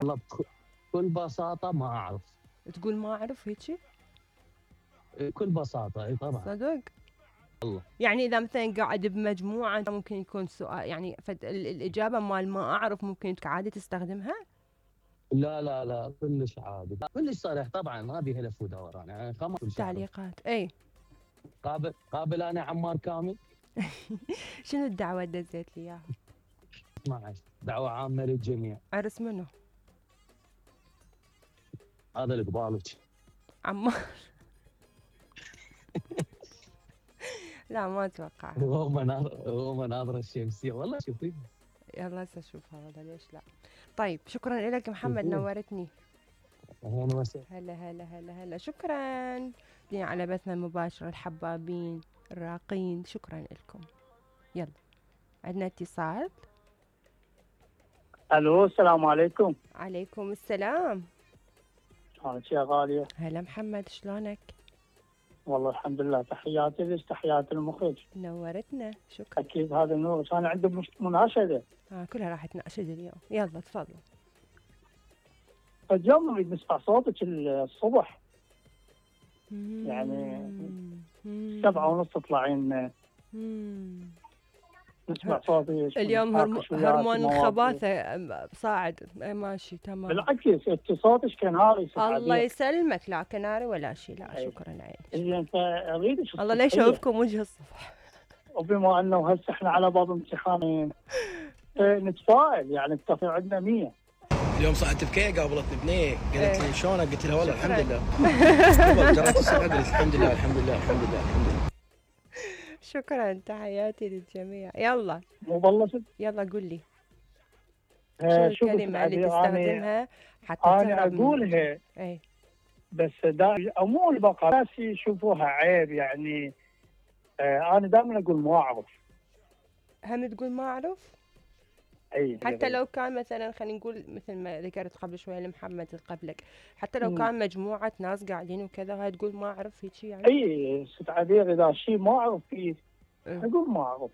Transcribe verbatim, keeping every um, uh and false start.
والله بكل بساطة ما أعرف. تقول ما أعرف هيجي؟ بكل بساطة اي طبعا. صدق؟ والله يعني إذا مثلا قاعد بمجموعة ممكن يكون سؤال، يعني فد ال- الإجابة مال ما أعرف ممكن عادي تستخدمها؟ لا لا لا كلش عادي، كلش صريح طبعا، ما بيها لف ودوران يعني خلاص كل شيء أعرف. تعليقات اي. قابل قابل انا عمار كامل. شنو الدعوة دزيت لي اياها؟ اسمع دعوة عامة للجميع. عرس منو؟ هذا اللي قبالك. عمار. لا ما اتوقع. هو مناظر هو مناظر الشمسية والله شوفي. يلا هسه اشوفها والله ليش لا. طيب شكرا لك محمد، شوفيها. نورتني. اهلا وسهلا. هلا هلا هلا هلا شكرا لي على بثنا المباشر، الحبابين الراقين شكرا لكم. يلا عندنا اتصال. الو السلام عليكم. عليكم السلام. شلونك يا غالية؟ هلا محمد شلونك؟ والله الحمد لله، تحياتي لك تحياتي المخرج. نورتنا شكرا. اكيد هذا نور، انا عندي مش- مناشدة. آه كلها راح تناشد اليوم، يلا تفضل. اليوم نريد نسمع صوتك الصبح، يعني مم. سبعة ونص تطلعين مم. نسمع صوتك. اليوم هرم... ونتناقش وياك هرمون في مواضيع. الخباثة أم- صاعد. إيه ماشي تمام. بالعكس انت صوتك كناري. الله يسلمك، لا كناري ولا شيء، لا أي. شكرا عيني. اللي انت اريدك الله لا يشوفكم وجه الصبح. وبما انه هسه احنا على باب امتحانين نتفائل، يعني التفاؤل عندنا مية. اليوم صعدت بكي قابلتني بنيه قالت لي شلونك؟ قلت لها والله شكراً. الحمد لله. قبل جريت الصبح قلت الحمد لله الحمد لله الحمد لله الحمد لله. شكرا تحياتي للجميع. يلا مو بلشت. يلا قول لي شو آه، شوف الكلمة اللي العبير، أنا- تستخدمها حتى انا تهرب من- اقولها اي بس دا عموم البقر ناس يشوفوها عيب يعني. آه انا دائما اقول ما اعرف. هم تقول ما اعرف؟ اي حتى لو كان مثلا خلينا نقول مثل ما ذكرت قبل شويه لمحمد اللي قبلك، حتى لو مم. كان مجموعه ناس قاعدين وكذا هاي تقول ما اعرف هيك يعني. اي ست عبير، اذا شيء ما اعرف فيه إيه. اقول ما اعرف.